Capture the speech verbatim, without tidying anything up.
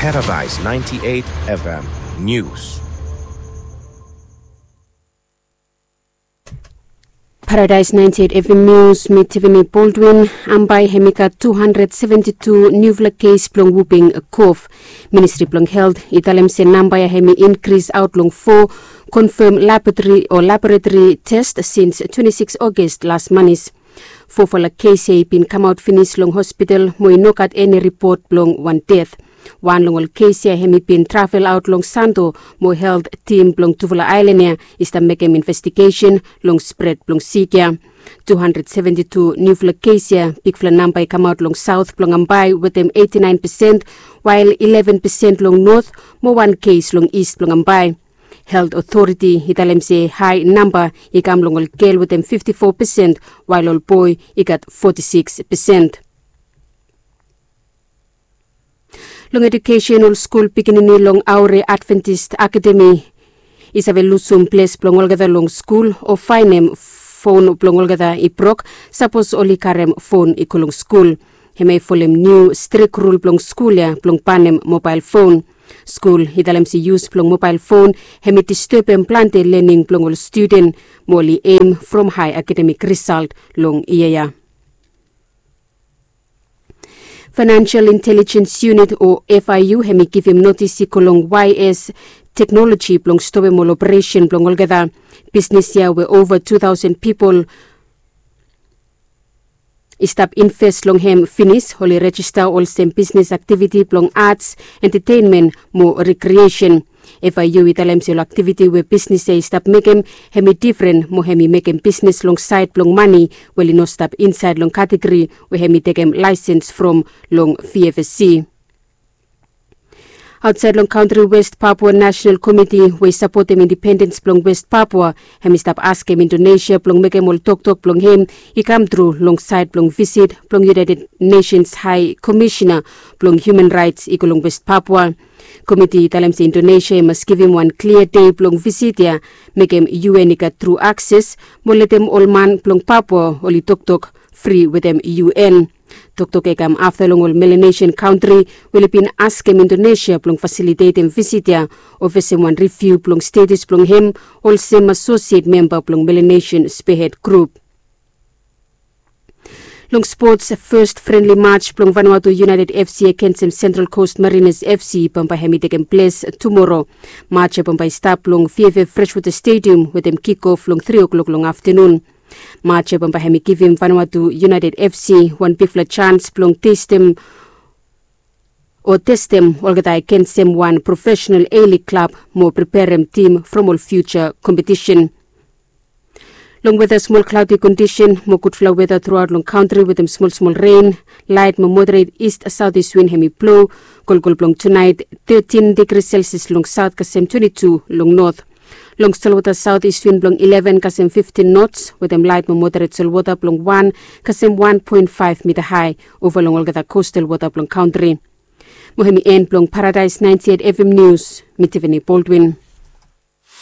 Paradise ninety-eight F M News. Paradise ninety-eight F M News, mi Tiffany Baldwin. Bambae hemi gat two hundred seventy-two niufala kes blong whooping cough. Ministri blong Helt i talem se namba ya hemi inkris aot long fo konfam laboratori o laboratori test sins twenty-six August las manis. Fofala kes ya i bin kamaot finis long hospital mo i no gat eni ripot blong wan det. Wan long ol kes ya hemi bin travel aot long Santo mo Helt tim blong tufala aelan ya i stap mekem investigesen long spred blong sik ya. Two hundred seventy-two niufala kes ya, bigfala namba i kamaot long saot blong Bambae wetem eighty-nine percent, wael eleven percent long not mo wan kes long ist blong Bambae. Helt otoriti i talem se hae namba i kam long ol gel wetem fifty-four percent, wael ol boe i gat forty-six percent. Long edukesen, ol skul pikinini long Aure Adventist Academy i save lusum ples blong olgeta long skul o faenem fon blong olgeta i brok sapos oli karem fon i go long skul. Hemia i folem niu strik rul blong skul ya blong banem mobael fon. Skul i talem se yus blong mobael fon hemi distebem plante lening blong ol studen mo oli em from hae akademik risalt long yia ya. Financial Intelligence Unit o F I U hemi givim notis i go long Y S Technology blong stopem ol operesen blong olgeta bisnis ya we ova two thousand pipol i stap inves long hem finis. Oli rejista olsem bisnis aktiviti blong ats, entetenmen mo rekriesen. F I U i talem se ol aktiviti we bisnis ya i stap mekem hemi difren mo hemi mekem bisnis long saed blong mane we oli no stap insaed long kategori we hemi tekem laesens from long V F S C. Aotsaed long kantri, West Papua National Komiti we i sapotem indipendens blong West Papua hemi stap askem Indonesia blong mekem ol toktok blong hem i kamtru long saed blong visit blong United Nations Hae Komisena blong Human Raets i go long West Papua. Komiti i talem se Indonesia i mas givim wan klia dei blong visit ya mekem U N i gat tru akses mo letem ol man blong Papua oli toktok fri wetem U N. Toktok ya i kam afta long ol Melanesian kantri we oli bin askem Indonesia blong fasilitetem visit ya o fesem wan riviu blong status blong hem olsem asosiet memba blong Melanesian Spearhead Group. Long spots, fes frenli maj blong Vanuatu United F C agensem Central Coast Mariners F C bambae hemi tekem ples tumoro. Maj ya bambae i stap long V F F Freshwater Stadium wetem kikof long tri o'klok long aftenun. Maj ya bambae hemi givim Vanuatu United F C wan bigfala jans blong testem o testem olgeta agensem wan profesenal A-League klab mo preperem tim from ol fiuja kompetisen. Long weta, smol klaodi kondisen mo gudfala weta truaot long kantri wetem smolsmol ren, laet mo moderet ist saotis win hemi blo. Kolkol blong tunaet, tetin digri Celsius long saot kasem twenti tu long not. Long solwota, saotis win blong ileven kasem fiftin nots wetem laet mo moderet solwota blong wan kasem wan poen faef mita hae ova long olgeta kostal wota blong kantri. Mo hemi en blong Paradise ninety-eight F M Nius. Mi Tiffany Baldwin.